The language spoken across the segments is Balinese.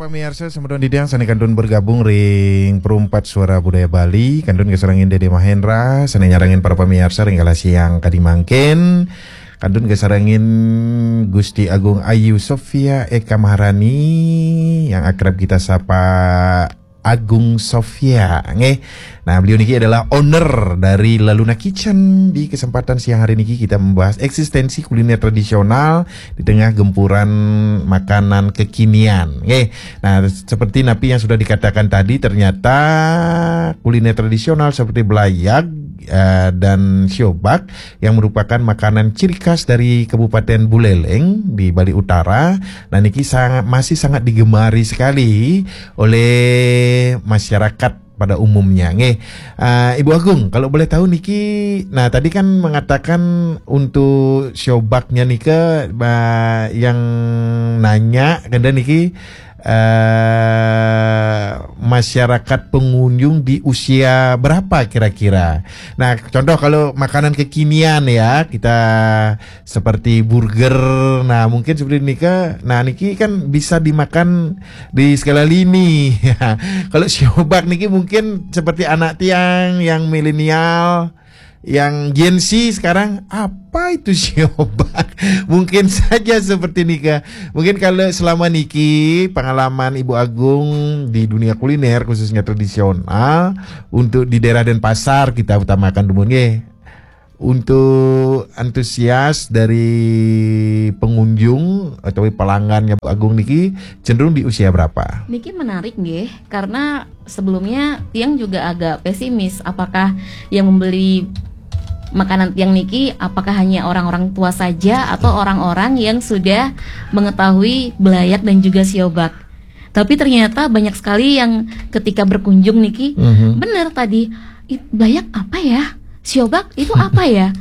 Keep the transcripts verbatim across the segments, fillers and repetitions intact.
Pemirsa, semeton titiang sane kantun bergabung ring Perumpat Suara Budaya Bali, kantun kasarengin Dede Mahendra, sane nyarengin para pemirsa ring kala siang kadi mangkin, kantun kasarengin Gusti Agung Ayu Sofia Eka Maharani yang akrab kita sapa Agung Sofia, nggih. Nah, beliau niki adalah owner dari Laluna Kitchen. Di kesempatan siang hari niki kita membahas eksistensi kuliner tradisional di tengah gempuran makanan kekinian, nggih. Nah, seperti napi yang sudah dikatakan tadi, ternyata kuliner tradisional seperti belayag, eh, dan siobak yang merupakan makanan ciri khas dari Kabupaten Buleleng di Bali Utara. Nah, niki sangat, masih sangat digemari sekali oleh masyarakat pada umumnya, nggih. Ah, Ibu Agung, kalau boleh tahu niki, nah, tadi kan mengatakan untuk siobaknya nika, ba, yang nanya, kemudian niki, eh, masyarakat pengunjung di usia berapa kira-kira? Nah, contoh kalau makanan kekinian ya, kita seperti burger, nah, mungkin seperti nika. Nah, niki kan bisa dimakan di segala lini. Kalau siobak niki mungkin seperti anak tiang yang milenial, yang Gen Z sekarang, apa itu siobak? Mungkin saja seperti nika. Mungkin kalau selama niki pengalaman Ibu Agung di dunia kuliner, khususnya tradisional, untuk di daerah Denpasar kita utamakan dulu, nggih. Untuk antusias dari pengunjung atau pelanggannya Bu Agung niki cenderung di usia berapa? Niki menarik nggih, karena sebelumnya tiang juga agak pesimis apakah yang membeli makanan tiang niki apakah hanya orang-orang tua saja atau orang-orang yang sudah mengetahui belayak dan juga siobak. Tapi ternyata banyak sekali yang ketika berkunjung niki, Mhm. bener tadi, "Ih, belayak apa ya? Siobak itu apa ya?"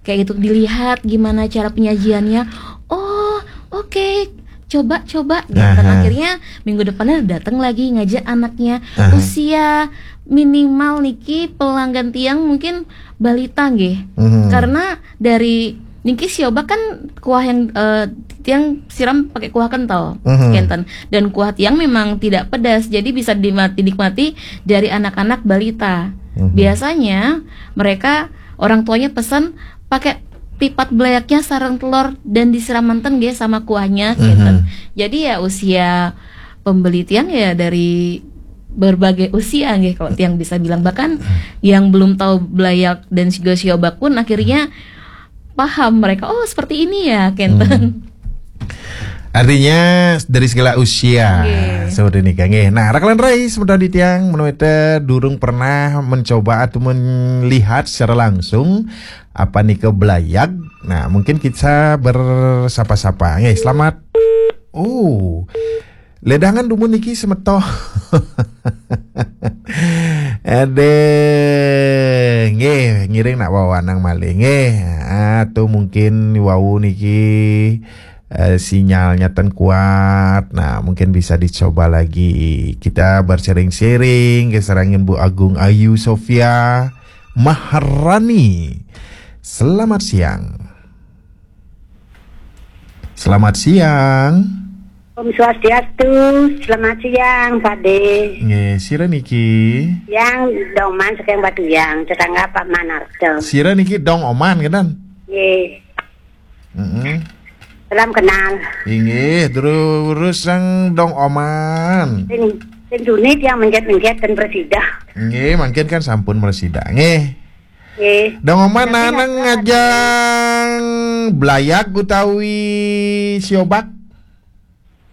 Kayak gitu, dilihat gimana cara penyajiannya. "Oh, oke, coba, coba." Gitu. Dan Aha. akhirnya minggu depannya datang lagi ngajak anaknya. Aha. Usia minimal niki pelanggan tiang mungkin balita nggih. Mhm. Karena dari niki siobak kan kuah yang, eh, tiang siram pakai kuah kental, Mhm. kenten. Dan kuah tiang memang tidak pedas, jadi bisa dima-, dinikmati dari anak-anak balita. Mhm. Biasanya mereka, orang tuanya pesan pakai tipat belayaknya sareng telur dan disiram manten nggih sama kuahnya, Mhm. kenten. Jadi ya usia pembeli tiang ya dari berbagai usia nggih kalau tiang bisa bilang. Bahkan yang belum tahu belayak dan juga siobak pun akhirnya paham mereka, "Oh, seperti ini ya," kenten. Hmm. Artinya dari segala usia. Nggih. Seperti ini, Kang. Nggih. Nah, rakalan rai sebentar di tiang, menawi durung pernah mencoba atau melihat secara langsung apa nika belayag. Nah, mungkin kita bersapa-sapa. Nggih, selamat. Oh. Ledangan dumun niki semeton. Aduh, nggih, ngiring nak wawanang malih nggih. Atau mungkin wau niki, eh, sinyalnya ten kuat. Nah, mungkin bisa dicoba lagi. Kita bersharing-sharing, kasarengin Bu Agung Ayu Sofia Maharani. Selamat siang. Selamat siang. Om Swastiastu, selamat siang, Pak De. Nggih, sira niki? Yang Dong Oman saking Batuyang, tetangga Pak Manarto. Sira niki Dong Oman, kenten? Nggih. Mm-mm. Salam kenal. Inggih, terus sang Dong Oman. Sing, sing Junit yang mencet-mencet dan presida. Nggih, mangkin kan sampun presida. Nggih. Nggih. Dong Oman. Tapi nanang nggak salah. Ngajang belayag utawi siobak?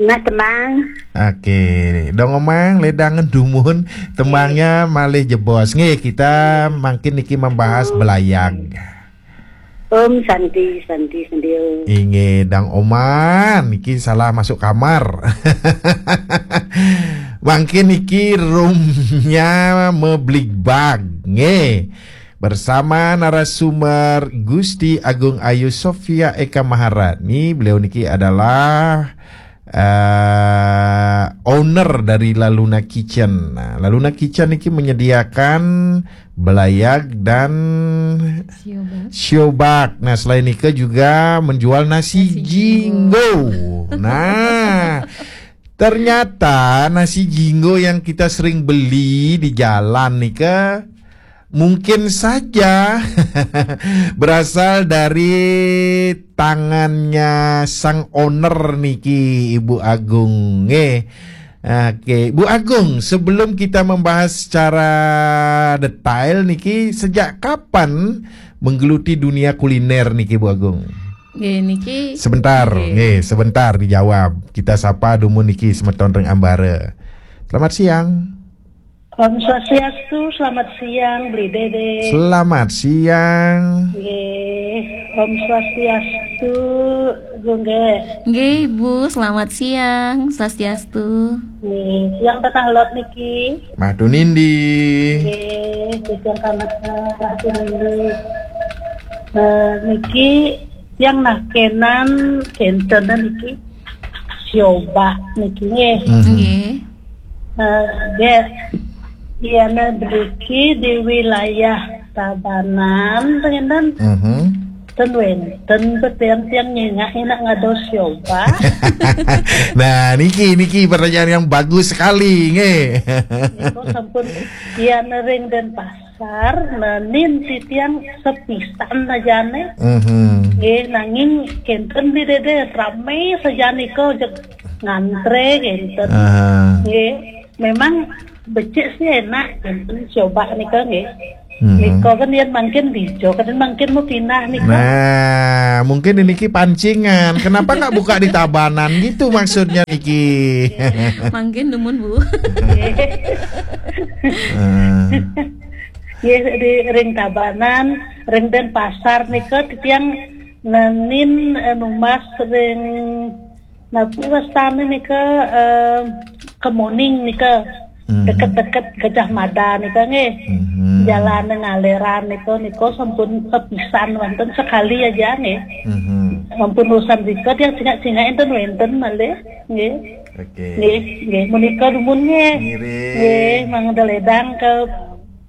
Mas Tembang. Oke, Dong Oman, ledangan dumun, tembangnya malih jebos. Nggih, kita mangkin niki membahas belayag. Om Santi, Santi, Santi, Om. Inggih, Dang Oman, niki salah masuk kamar. Mangkin niki roomnya mebligbag. Nggih. Bersama narasumber Gusti Agung Ayu Sofia Eka Maharani. Beliau niki adalah, eh, owner dari Laluna Kitchen. Nah, Laluna Kitchen niki menyediakan belayag dan siobak. Siobak. Nah, selain nika juga menjual nasi, nasi jinggo, jinggo. Nah, Ternyata nasi jinggo yang kita sering beli di jalan nih ke mungkin saja berasal dari tangannya sang owner niki, Ibu Agung. Nggih. Oke, Bu Agung, sebelum kita membahas secara detail niki, sejak kapan menggeluti dunia kuliner niki, Bu Agung? Nggih, niki Sebentar, Nggih. nggih, sebentar dijawab. Kita sapa dumun niki semeton ring ambara. Selamat siang. Om Swastiastu, selamat siang, Bli Dede. Selamat siang. Nggih, Om Swastiastu, Gung Ge. Nggih, Bu, selamat siang. Swastiastu. Nggih, yang Tanah Lot niki. Mah Tunindi. Nggih, yang Tanah Lot niki. Eh, niki yang nakenan kenten niki. Sioba niki nggih. Mhm. Nggih. Eh, nggih. Iya, nah, beriki di wilayah Tabanan, ngenten. Mhm. Ten wenten betian tiang nyengak enak ngado sioba. Nah, niki niki pertanyaan yang bagus sekali, nggih. Niku sampun iya nering Denpasar, nenin titiang sepisan ajane. Mhm. Nggih, nanging kenten di dede rame saja niku jeg ngantre kenten. Aha. Nggih, memang becik sih enak kenten coba nika nggih. Mhm. Nika kan yen mangkin dijo, kan mangkin mau pindah nika. Nah, mungkin ini ki pancingan. Kenapa nggak buka di Tabanan gitu maksudnya niki? Mangkin dumun, Bu. Eh, Nggih, di ring Tabanan, ring Denpasar nika titiang nenin eh, numbas ring napi wastane nika eh, Kemuning nika Hmm. deket-deket Gajah Mada nika nggih. Mhm. Jalan ngaleran nika nika sampun sepisan wonten sekali aja nggih. Mhm. Ampun urusan nika tiang singak-singak enten wenten malih nggih. Oke. Nggih, nggih menika dumun nggih. Ngiring. Nggih, mangda ledang ke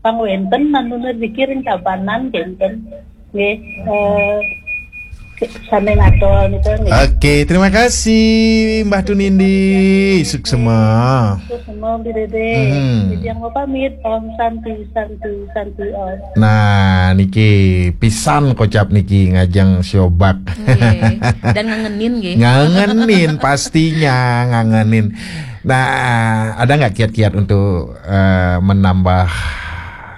pangwenten manuna dikiring Tabanan kenten. Nggih, eh, sami ngatur nika nggih. Oke, terima kasih Mbah Tunindi. Suksema. Terus semua Bli Dede. Hmm. Jadi yang mau pamit, Om Santi, Santi, Santi Om. Nah, niki pisan kocap niki ngajeng siobak. Nggih. Dan ngangenin nggih. Ngangenin, pastinya ngangenin. Nah, ada nggak kiat-kiat untuk eh, menambah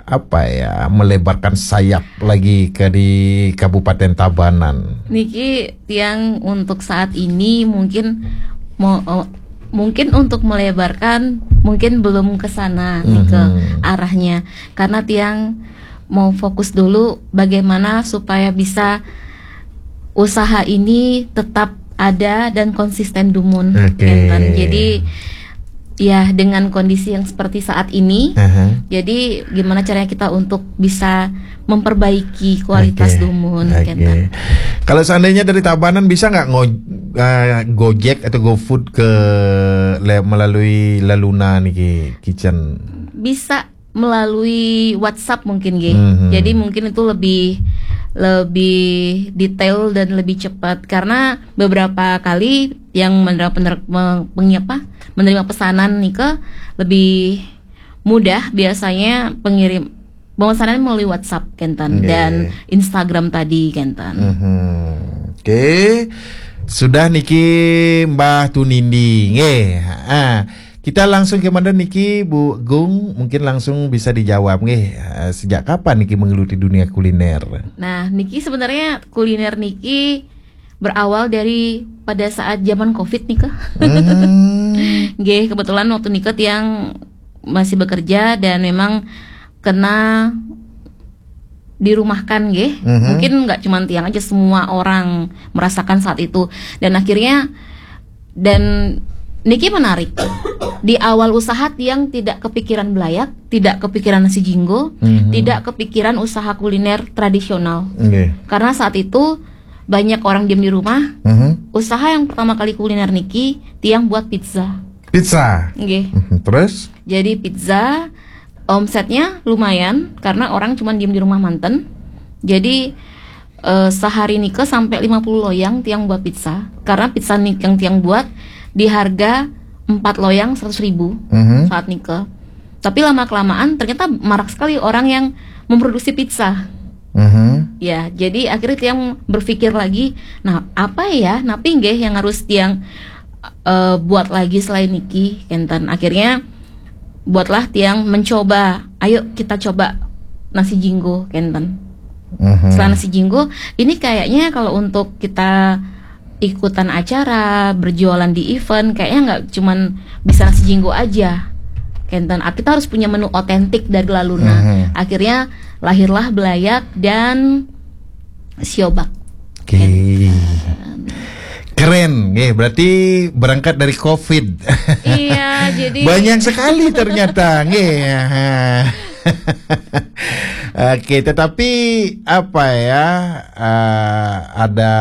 apa ya, melebarkan sayap lagi ke di Kabupaten Tabanan? Niki tiang untuk saat ini mungkin mau eh, mungkin untuk melebarkan mungkin belum ke sana nih ke Mhm. arahnya, karena tiang mau fokus dulu bagaimana supaya bisa usaha ini tetap ada dan konsisten dumun. Oke. Kenten. Jadi ya dengan kondisi yang seperti saat ini, Aha. jadi gimana caranya kita untuk bisa memperbaiki kualitas Oke. dumun. Oke. Kenten. Kalau seandainya dari Tabanan bisa nggak ngo- eh, Gojek atau GoFood ke le- melalui Laluna niki Kitchen? Bisa melalui WhatsApp mungkin, nggih. Mhm. Jadi mungkin itu lebih lebih detail dan lebih cepat, karena beberapa kali yang menerima pener, me- pengi- apa, menerima pesanan nika lebih mudah biasanya pengirim pemesanan melalui WhatsApp kenten Nggih. dan Instagram tadi kenten. Mhm. Oke. Sudah niki Mbah Tunindi. Nggih. Ah, kita langsung ke mana niki Bu Gung? Mungkin langsung bisa dijawab nggih. Ah, sejak kapan niki menggeluti dunia kuliner? Nah, niki sebenarnya kuliner niki berawal dari pada saat zaman covid nika. Hmm. Nggih, kebetulan waktu nika tiang masih bekerja dan memang kena dirumahkan nggih. Mhm. Mungkin nggak cuma tiang aja, semua orang merasakan saat itu. Dan akhirnya dan niki menarik. Di awal usaha tiang tidak kepikiran belayak, tidak kepikiran nasi jinggo, Mhm. tidak kepikiran usaha kuliner tradisional. Nggih. Karena saat itu banyak orang diam di rumah. Mhm. Usaha yang pertama kali kuliner niki tiang buat pizza. Pizza. Nggih. Mhm. Terus? Jadi pizza omsetnya lumayan karena orang cuma diem di rumah manten. Jadi eh, sehari nika sampai lima puluh loyang tiang buat pizza. Karena pizza nih yang tiang buat di harga empat loyang seratus ribu Mhm. saat nikah. Tapi lama kelamaan ternyata marak sekali orang yang memproduksi pizza. Mhm. Ya, jadi akhirnya tiang berpikir lagi, nah, apa ya, napi nggih yang harus tiang eh, buat lagi selain niki, kenten. Akhirnya buatlah tiang mencoba, ayo kita coba nasi jinggo, kenten. Mhm. Setelah nasi jinggo, ini kayaknya kalau untuk kita ikutan acara, berjualan di event, kayaknya nggak cuman bisa nasi jinggo aja, kenten. Ah, kita harus punya menu otentik dari La Luna. Mhm. Akhirnya lahirlah belayak dan siobak. Oke. Keren, nggih. Berarti berangkat dari covid. Iya, jadi Banyak sekali ternyata, nggih. Oke, tetapi apa ya? Eh, ada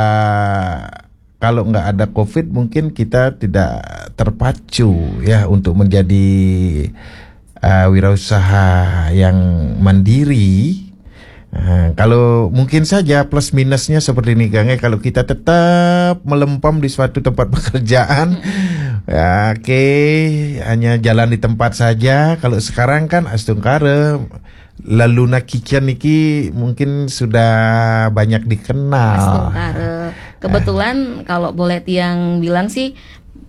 kalau nggak ada covid, mungkin kita tidak terpacu ya untuk menjadi eh, wirausaha yang mandiri. Eh, kalau mungkin saja plus minusnya seperti ini, Kang, eh, kalau kita tetap melempem di suatu tempat pekerjaan, ya, oke, hanya jalan di tempat saja. Kalau sekarang kan astungkara, La Luna Kitchen niki mungkin sudah banyak dikenal. Astungkara. Kebetulan kalau boleh tiang bilang sih,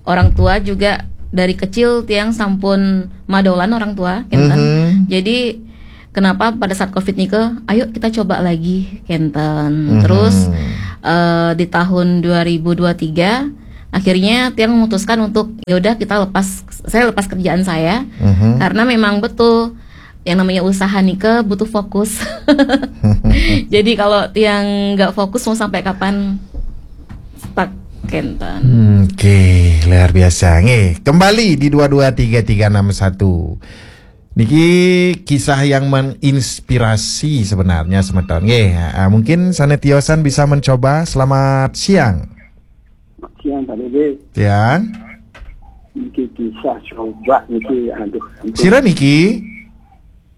orang tua juga dari kecil tiang sampun madolan orang tua, kenten. Mhm. Jadi kenapa pada saat covid nika, ayo kita coba lagi, kenten. Mhm. Terus eh, di tahun dua ribu dua tiga akhirnya tiang memutuskan untuk, ya udah, kita lepas, saya lepas kerjaan saya, Mhm. karena memang betul yang namanya usaha nika butuh fokus. Jadi kalau tiang nggak fokus, mau sampai kapan stuck, kenten. Hmm, oke, luar biasa. Nggih, kembali di dua dua tiga tiga enam satu. Niki kisah yang menginspirasi sebenarnya, semeton. Nggih, ah, mungkin sané tiosan bisa mencoba. Selamat siang. Siang, Pak Dede. Siang. Niki kisah coba niki, aduh. Sira niki?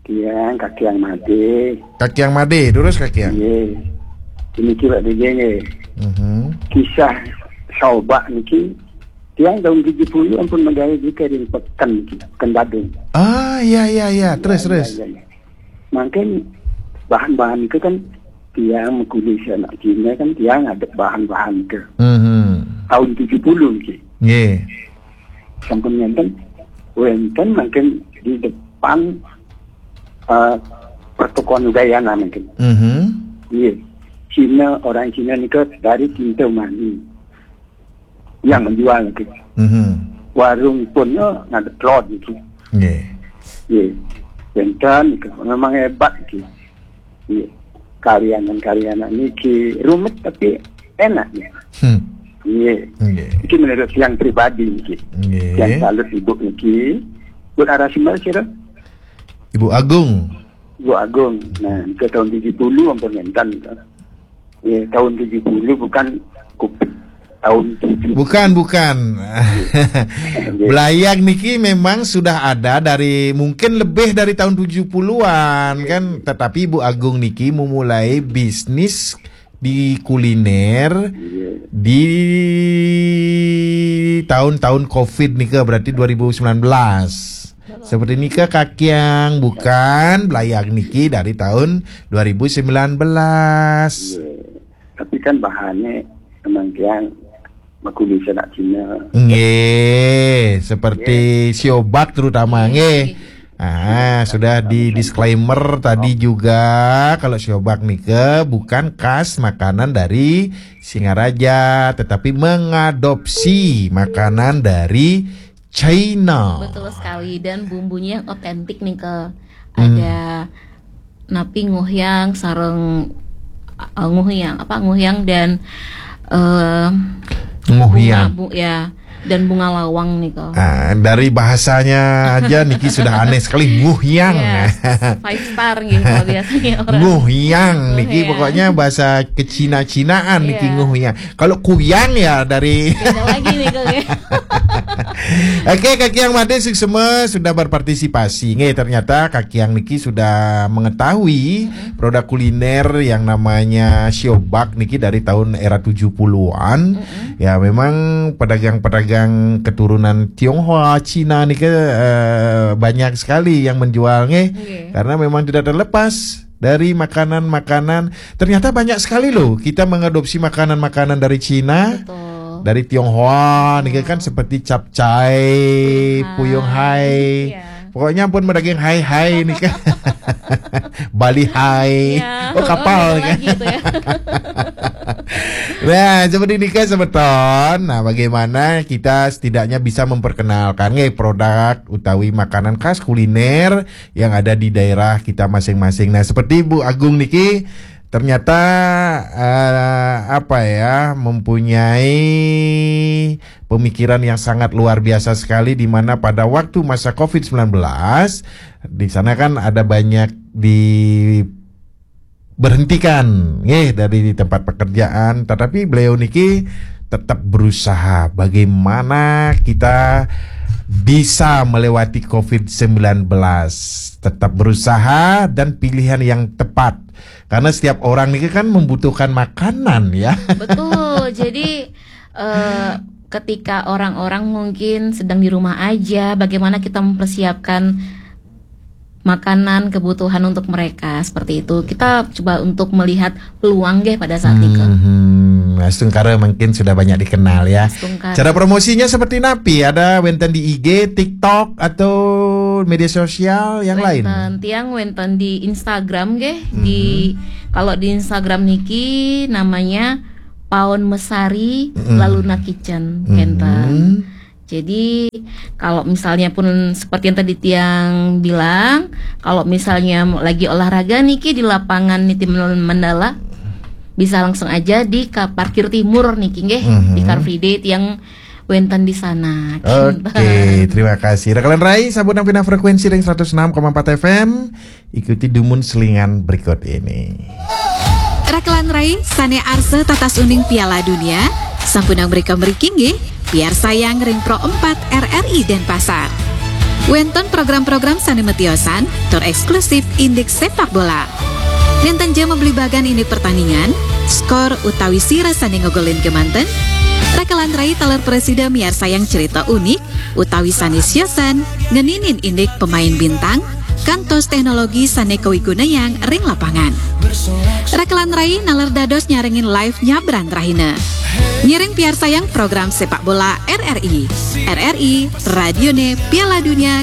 Tiang, Kakiang Made. Kakiang Made, terus Kakiang. Nggih. Niki, Pak Dede, nggih. Mhm. Kisah coba niki, tiang tahun tujuh puluh ampun menggawe juga di peken niki, peken Badung. Ah, iya, iya, iya. Terus, terus. Ya, ya, ya. Mungkin bahan-bahan itu kan tiang mengkulis anak Cina kan, tiang ada bahan-bahan ke Mhm. tahun tujuh puluh niki. Nggih. Sampun ngenten, wenten mungkin di depan eh, pertokoan Udayana mungkin. Mhm. Iya. Cina, orang Cina nika dari Kintamani yang menjual niki. Mhm. Warung pun eh, ngadep road niki. Nggih. Iya. Wenten niki memang hebat niki. Iya. Karyanan-karyanan niki rumit tapi enak ya. Hmm. Iya. Nggih. Niki menurut yang pribadi niki. Nggih. Yang salut ibu niki. Buat arah sumber sira? Ibu Agung. Ibu Agung. Nah, ke tahun tujuh puluh ampun ngenten. Ya, tahun tujuh puluh bukan covid. Tahun tujuh. Bukan, bukan. Belayak niki memang sudah ada dari, mungkin lebih dari tahun tujuh puluhan kan, tetapi Ibu Agung niki memulai bisnis di kuliner Iya. di tahun-tahun covid nika, berarti dua ribu sembilan belas. Seperti nika Kakiang, bukan, belayak niki dari tahun dua ribu sembilan belas. Iya. Tapi kan bahannya memang tiang mengkulis anak Cina. Nggih, seperti siobak terutama nggih. Ah, sudah di disclaimer tadi juga, kalau siobak nika bukan khas makanan dari Singaraja, tetapi mengadopsi makanan dari China. Betul sekali, dan bumbunya yang otentik nih ke Hmm. ada napi nguhyang sareng eh, nguhyang apa nguhyang dan eh Nguhyang. bunga, bu- ya, dan bunga lawang nih ke. Ah, dari bahasanya aja niki sudah aneh sekali, nguhyang. Yes, five star gitu kalau biasanya orang. Nguhyang niki Nguhyang. Pokoknya bahasa kecina-cinaan niki, Iya. nguhyang. Kalau kuyang ya dari Beda lagi nih ke. Oke, Kak Yang Made, suksma sudah berpartisipasi. Nggih, ternyata Kak Yang niki sudah mengetahui produk kuliner yang namanya siobak niki dari tahun era tujuh puluhan. Ya, memang pedagang-pedagang keturunan Tionghoa, Cina niki, eh, banyak sekali yang menjual, nggih. Nggih. Karena memang tidak terlepas dari makanan-makanan. Ternyata banyak sekali loh kita mengadopsi makanan-makanan dari Cina, betul, dari Tionghoa, niki kan seperti capcay, puyung hai. Iya. Pokoknya pun daging hai-hai niki kan. Bali hai. Iya. Oh, kapal niki kan. Lagi itu ya. Nah, seperti niki kan semeton. Nah, bagaimana kita setidaknya bisa memperkenalkan, nggih, produk utawi makanan khas kuliner yang ada di daerah kita masing-masing. Nah, seperti Bu Agung niki ternyata, eh, apa ya, mempunyai pemikiran yang sangat luar biasa sekali, di mana pada waktu masa covid sembilan belas di sana kan ada banyak diberhentikan, nggih, dari tempat pekerjaan, tetapi beliau niki tetap berusaha bagaimana kita bisa melewati covid sembilan belas, tetap berusaha dan pilihan yang tepat, karena setiap orang niki kan membutuhkan makanan, ya. Betul. Jadi, eh, ketika orang-orang mungkin sedang di rumah aja, bagaimana kita mempersiapkan makanan, kebutuhan untuk mereka, seperti itu. Kita coba untuk melihat peluang, nggih, pada saat itu. Hmm, astungkara mungkin sudah banyak dikenal, ya. Astungkara. Cara promosinya seperti napi? Ada wenten di I G, TikTok, atau media sosial yang lain? Wenten, tiang wenten di Instagram, nggih. Di, kalau di Instagram niki namanya Paon Mesari, mm-mm, Laluna Kitchen, mm-mm, wenten. Jadi, kalau misalnya pun seperti yang tadi tiang bilang, kalau misalnya lagi olahraga niki di lapangan Niti Mandala, bisa langsung aja di ka-, parkir timur niki, nggih, di, mhm, Car Free Day tiang wenten di sana. Oke, terima kasih. Rekan rai, sampun pinah frekuensi ring seratus enam koma empat F M. Ikuti dumun selingan berikut ini. Rekan rai, sane arsa tatas uning Piala Dunia, sampunang mrika mriki nggih, piarsayang ring Pro empat R R I Denpasar. Wenten program-program sane matiosan tur eksklusif indik sepak bola. Nenten ja mablibagan indik pertandingan, skor utawi sira sane ngogolin kemanten, rekan rai taler prasida miarsayang cerita unik utawi sane siosan ngeninin indik pemain bintang, kantos teknologi sane kawigunayang ring lapangan. Rekan rai naler dados nyarengin live nyabran rahina. Ngiring piarsayang program sepak bola R R I. R R I, radione Piala Dunia